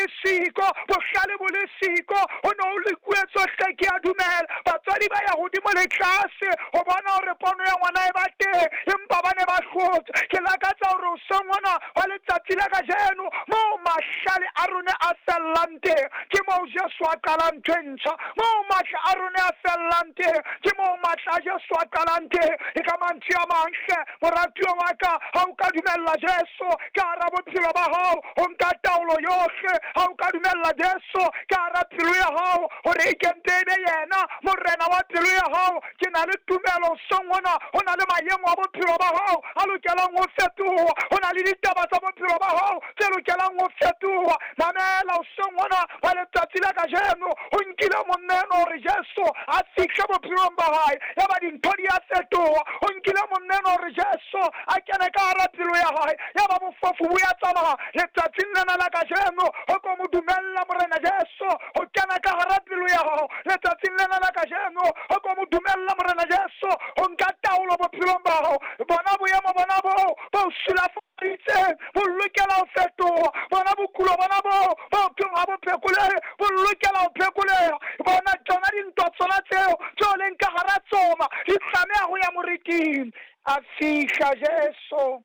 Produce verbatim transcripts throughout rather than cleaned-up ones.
le siko, bohlale bo le siko, ho ne ho lekuwe tsohle. Ke a dumela batswadi ba ya hodimo le tlase ho bona hore pono ya ngwana e ba teng, empa ba ne ba hlotse. Ke lakatsa hore hoseng hona wa letsatsi la kajeno moo mahlale a rona a fellang teng, ke moo Jesu a qalang ntho e ntjha. Moo matla a rona a fellang teng, ke moo matla a Jesu a qalang teng. E ka mantswe a mang hle, moratuwa wa ka, ha o ka dumella Jesu ka hara bophelo ba hao ho nka taolo yohle, ha o ka dumella Jesu ka hara pelo ya hao hore e kente e be yena morena wa pelo ya hao, ke na le tumelo hoseng hona ho na le maemo a bophelo ba hao a lokelang ho fetoha, ho na le ditaba tsa bophelo ba hao tse lokelang ho fetoha. Mamela hoseng hona wa letsatsi la kajeno, ho nkile monna enwa hore Jesu a fihle bophelong ba hae, ya ba dintho di a fetoha. Ho nkile monna enwa hore Jesu a kene ka hara pelo ya hae, ya ba bofofu bo ya tsamaya. Letsatsing lena la kajeno ho ko mo dumella morena Jesu ho kena ka hara pelo ya hao. Letsatsing lena la kajeno ho ko mo dumella morena Jesu ho nka taolo bophelong ba hao. Bona boemo bona boo bo sulafaditseng bo lokela ho fetoha. Bona bokulo bona boo bo thweng ha bo phekolehe bo lokela ho phekoleha. Bona tsona dintwa tsona tseo tseo leng ka hara tsona di tlameha ho ya moriting. A fihla Jesu,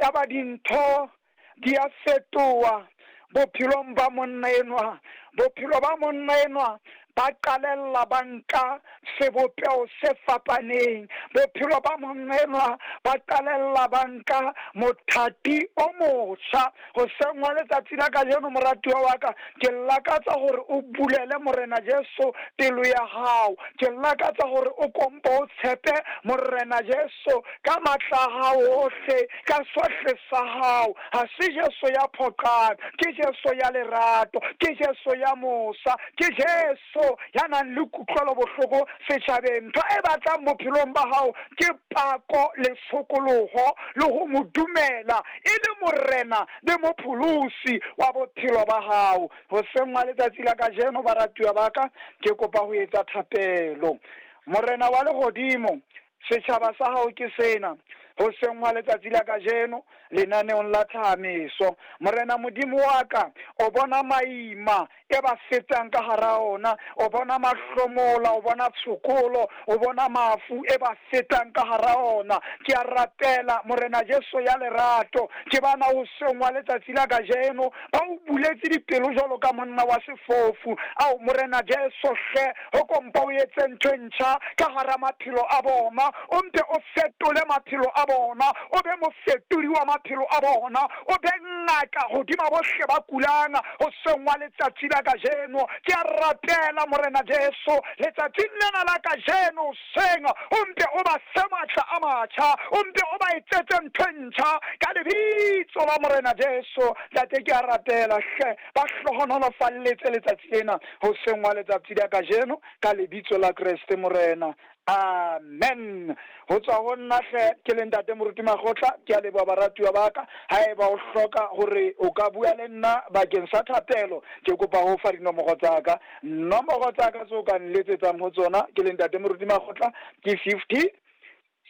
ya ba dintho di a fetoha bophelong ba monna enwa. Bophelo ba monna enwa ba qalella ba nka sebopeho se fapaneng. Bophelo ba monna enwa ba qalella ba nka mothati o motjha. Hoseng wa letsatsi la kajeno, moratuwa wa ka, ke lakatsa hore o bulele morena Jesu pelo ya hao. Ke lakatsa hore o kompo o tshepe morena Jesu ka matla a hao ohle, ka sohle sa hao. Ha se Jesu ya phoqang, ke Jesu ya lerato, ke Jesu ya mosa, ke Jesu ya nang le kutlwelo bohloko setjhabeng. Ntho e batlang bophelong ba hao ke pako le tshokoloho le ho mo dumela e le morena le mopholosi wa bophelo ba hao. Hoseng wa letsatsi la kajeno, baratuwa ba ka, ke kopa ho etsa thapelo. Morena wa lehodimo, setjhaba sa hao ke sena. Hoseng wa letsatsi la kajeno lenaneong la Thahameso, morena Modimo wa ka, o bona maima e ba fetang ka hara ona, o bona mahlomola, o bona tshokolo, o bona mafu e ba fetang ka hara ona. Ke a rapela morena Jesu ya lerato, ke bana hoseng wa letsatsi la kajeno ba o buletse dipelo jwalo ka monna wa sefofu. Ao morena Jesu hle, ho kompa o etse ntho e ntjha ka hara maphelo a bona, o mpe o fetole maphelo a bona, o be mofetodi wa maphelo a bona, o be ngaka hodima bohle ba kulang hoseng wa letsatsi la kajeno. Ke a rapela morena Jesu letsatsing lena la kajeno hoseng, o mpe o ba fe matla a matjha, o mpe o ba etsetse ntho e ntjha ka lebitso la morena Jesu. Ntate, ke a rapela hle, ba hlohonolofalletse letsatsi lena hoseng wa letsatsi la kajeno ka lebitso la Kreste morena. Amen. Ho tswa ho nna hle, ke le ntate Moruti Makgotla, ke a leboha baratuwa ba ka. Haeba o hloka hore o ka bua le nna bakeng sa thapelo, ke kopa ho fa dinomoro tsa ka. Nomoro tsa ka tseo ka nletsetsang ho tsona ke le ntate Moruti Makgotla ke fifty,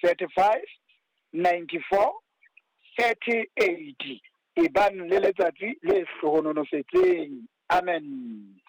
thirty-five, ninety-four, thirty-eight. Ebang le letsatsi le hlohonolofetseng. Amen.